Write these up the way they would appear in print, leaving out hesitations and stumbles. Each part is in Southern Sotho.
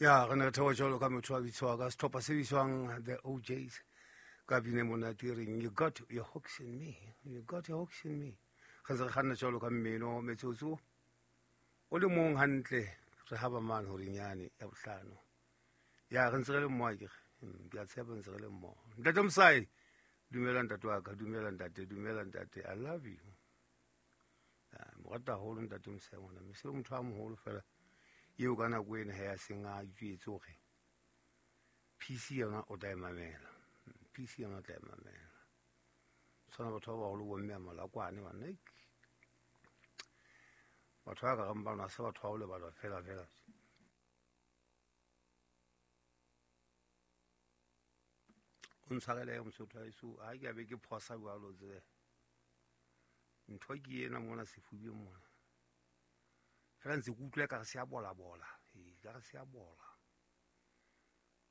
Ya re ne re theoha jwalo ka motho a bitswa ka setlhopha se bitswang The OJs ka bine monate e reng "You Got Your Hooks in Me", "You Got Your Hooks in Me". Re ntse re kganna jwalo ka mmino, metsotso o le mong hantle re haba mane horenyane ya bohlano. Ya re ntse re le mmoho akere? Ke a tshepa ntse re le mmoho. Ntate Mosai, dumela ntate wa ka, dumela ntate, dumela ntate, I love you. Mo rata haholo ntate Mosai ngwana mme se le motho a moholo fela eo ka nako ena he a seng a itjwetse hore PC yona o tla e mamela, PC yona o tla e mamela. Tshwana batho ba baholo bomme a malakwane banna, batho ba ka reng bano ha se batho ba ho lebalwa fela fela. O ntshwarele mosotho wa heso, ha ke a be ke phosa jwalo tsebe. Ntho ke ena mona sefubeng mona. Fela ntse ke utlwa ekare se a bola bola. Ee, ekare se a bola.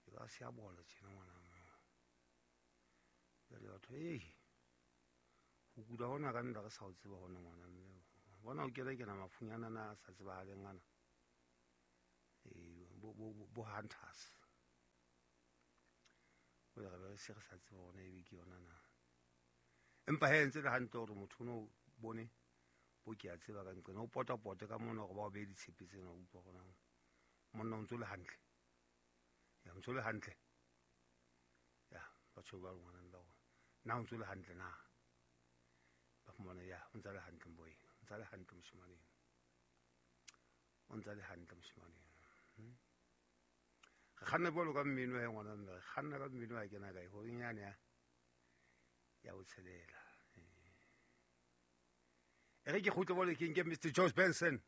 Ekare se a bola tjena ngwana mme. Jwale batho, ee, ho kula hona ka nna re sa o tseba hona ngwana mme. Bona o kena kena mafunyana ana a sa tsebahaleng ana. Ee, bo hunters. O re be se re sa tseba hona ebe ke yona na. Empa he ntse le hantle hore motho no bone bo ke a tseba ka nqena o pota pote ka mona hore ba o behe ditshepe tsena, o utlwa hore monna o ntso le hantle. Ya o ntso le hantle. Ya batho ba ngwana ba rona. Na o ntso le hantle na? Ba fumana ya o ntsa le hantle mboe. O ntsa le hantle moshemane. O ntsa le hantle moshemane. Re kganna jwalo ka mmino ya ngwana mme re kganna ka mmino ya kena kae horeng yane ya ho tshelela. E re ke kgutle bole ke nke Mr. George Benson.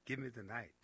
"Give Me the Night".